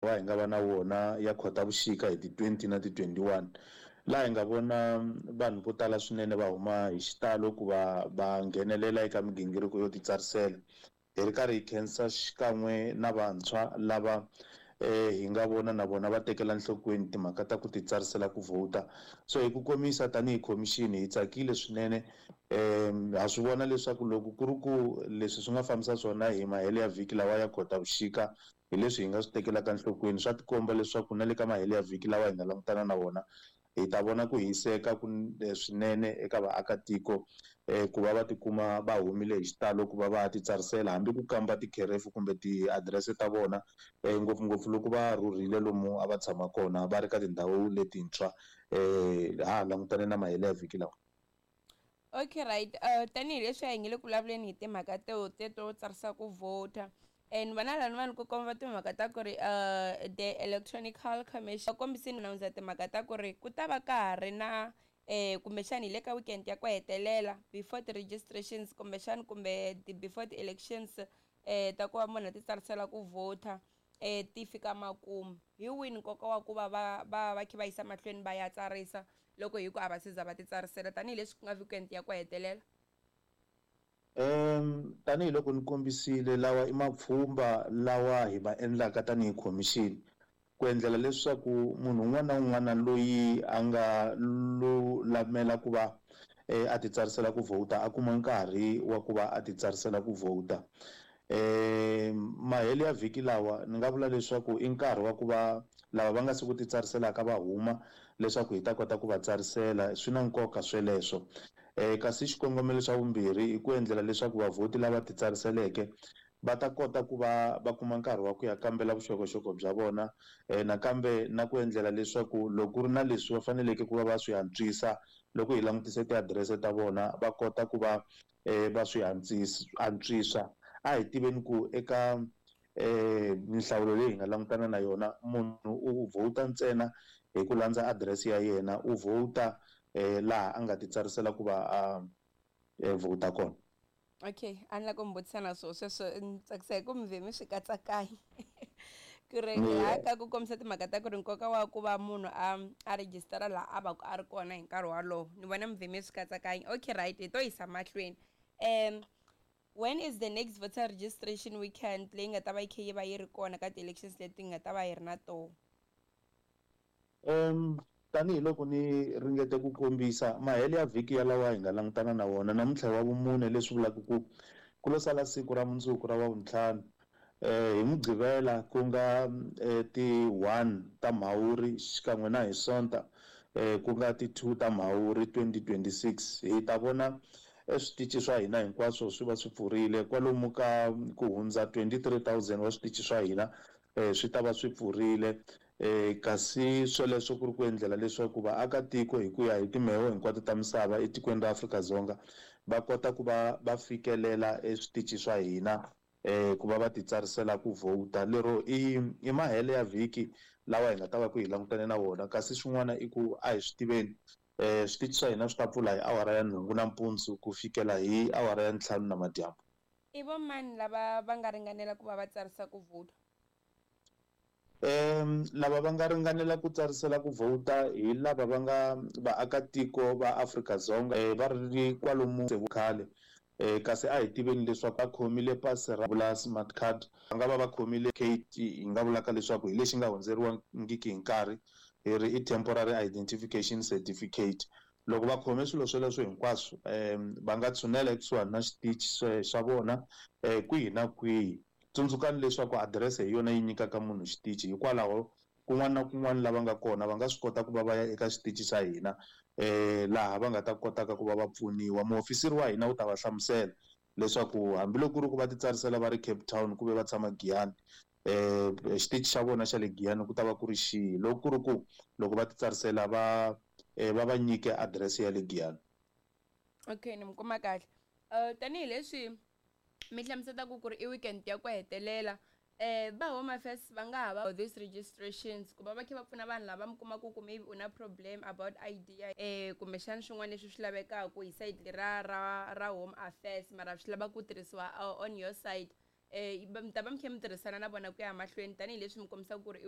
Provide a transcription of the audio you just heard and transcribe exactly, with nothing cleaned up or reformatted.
Hi nga va na wona ya Khotavuxika hi ti twenty na ti twenty-one, laha hi nga vona vanhu vo tala swinene va huma hi xitalo ku va va nghenelela eka migingiriko yo titsarisela. Hi ri karhi hi khensa xikan'we na vantshwa lava eh hi nga vona na vona va tekela nhlokweni timhaka ta ku titsarisela ku vhota. So hi ku komisa, tanihi khomixini hi tsakile swinene. um ha swi vona leswaku loko ku ri ku leswi swi nga fambisa swona hi mahelo ya vhiki lawa ya Khotavuxika, hi leswi hi nga swi tekelaka nhlokweni, swa tikomba leswaku na le ka mahelo ya vhiki lawa hi nga langutana na wona hi ta vona ku hiseka ku swinene eka vaakatiko um ku va va tikuma va humile hi xitalo ku va va titsarisela, hambi ku kamba tikherefu kumbe tiadirese ta vona, um ngopfungopfu loko va rhurhile lomu a va tshama kona va ri ka tindhawu letintshwa. um ha ha langutane na mahelo ya vhiki lawa. Okay, right. uh, tanihileswi a hi nge le ku vulavuleni hi timhaka to teto tsarisa ku vhota, and vana lani vanhu ku komba timhaka ta ku ri uh, the Electronical Commission kombisini announce timhaka ta ku ri ku ta va ka ha ri na eh kumbexani hi le ka weekend ya ku hetelela before ti-registrations, kumbexani kumbe before ti-elections eh ta ku va munhu a ti tsarisela ku vhota eh ti fika makumu. Hi wini nkoka wa ku va va va va kha va yisa mahlweni va ya tsarisa loko hi ku a va se za va ti tsarisela, tanihileswi ku nga weekend ya ku hetelela? um tanihiloko ni kombisile, lawa i mapfhumba lawa hi va endlaka tanihi khomixini ku endlela leswaku munhu un'wana na un'wana loyi a nga lulamela ku va a ti tsarisela ku vhota a kuma nkarhi wa ku va a ti tsarisela ku vhota. um mahelo ya vhiki lawa ni nga vula leswaku i nkarhi wa ku va lava va nga se ku ti tsariselaka va huma leswaku hi ta kota ku va tsarisela. Swi na nkoka sweleswo. um kasi xikongomelo xa vumbirhi i ku endlela leswaku vavhoti lava ti tsariseleke va ta kota ku va va kuma nkarhi wa ku ya kambela vuxokoxoko bya vona, um nakambe na ku endlela leswaku loko ku ri na leswi va faneleke ku va va swi antswisa loko hi langutise tiadirese ta vona, va kota ku va um va swi antswisa. A hi tiveni ku eka um minhlawulo leyi hi nga langutana na yona, munhu u vhota ntsena hi ku landza adirese ya yena, u vhota um laha a nga ti tsarisela ku va a vhota kona. Okay, a ni la ku mi vutisa na swoho sweswo. Ni tsakisa hi ku mi vhe mi swi katsakanya ku ri ka ku kombisa timhaka ta ku ri nkoka wa ku va munhu a a rejistara laha a va ku a ri kona hi nkarhi wolowo. Ni vona mi vhe mi swi katsakanya. Okay, right, hi to yisa mahlweni. um when is the next voter registration weekend leyi nga ta va yi kha yi va yi ri kona ka ti-elections leti nga ta va hi ri na toho? um tanihiloko ni ringete ku kombisa, mahelo ya vhiki ya lawa hi nga langutana na wona namuntlha wa vumune, leswi vulaka ku ku lo sala siku ra mundzuku ra wa vuntlhanu, eh hi Mugqivela ku nga ti one ta Mhawuri, xikan'we na hi Sonta eh ku nga ti two ta Mhawuri twenty twenty-six, hi ta vona eswitichi swa hina hinkwaswo swi va swi pfurile. Kwalomu ka ku hundza twenty-three thousand wa switichi swa hina eh swi ta va swi pfurile. eh kasi swoleswo ku ri ku endlela leswaku vaakatiko hi ku ya hi timheho hinkwato ta misava etikweni ra Afrika-Dzonga va kota ku va va fikelela eswitichi swa hina eh ku va va ti tsarisela ku vhota. Lero i i mahelo ya vhiki lawa hi nga ta va ku hi langutane na wona. Kasi swin'wana i ku a hi swi tiveni, eh switichi swa hina swi ta pfula hi awara ya nhungu nampundzu ku fikela hi awara ya ntlhanu namadyambu. I vo mani lava va nga ringanela ku va va tsarisa ku vhota? um lava va nga ringanela ku tsarisela ku vhota hi lava va nga vaakatiko va Afrika-Dzonga, eh, va ri kwalomu khale. eh kasi a hi tiveni leswaku va khomile pasi ra vula smart card, va nga va va khomile K T, hi nga vulaka leswaku hi lexi nga hundzeriwangiki hi nkarhi, hi ri i temporary identification certificate. Loko va khome swilo swoleswo hinkwaswo, um va nga tshunela ekusuhani na xitichi xa vona um kwihi na kwihi. Tsundzukani leswaku adirese hi yona yi nyikaka munhu xitichi, hikwalaho kun'wana na kun'wana lava nga kona va nga swi kota ku va va ya eka xitichi xa hina, um laha va nga ta kotaka ku va va pfuniwa. Muofisiri wa hina wu ta va hlamusela leswaku hambiloko ku ri ku va ti tsarisela va ri Cape Town ku ve va tshama Giyani, um xitichi xa vona xa le Giyani ku ta va ku ri xihi, loko ku ri ku loko va ti tsarisela va va va nyike adirese ya le Giyani. Okay, ni mi kuma kahle. uh tanihileswi mi hlamusetaka ku ri i weekend ya ku hetelela, eh va Home Affairs va nga ha va these registrations ku va va kha va pfuna vanhu lava mi kumaka ku maybe u na problem about I D, eh kumbexana swin'wana leswi swi lavekaka hi side ra ra ra Home Affairs, mara swi lava ku tirhisiwa on your side, eh mi ta va mi kha mi tirhisana na vona ku ya mahlweni, tanihileswi mi kombisaka ku ri i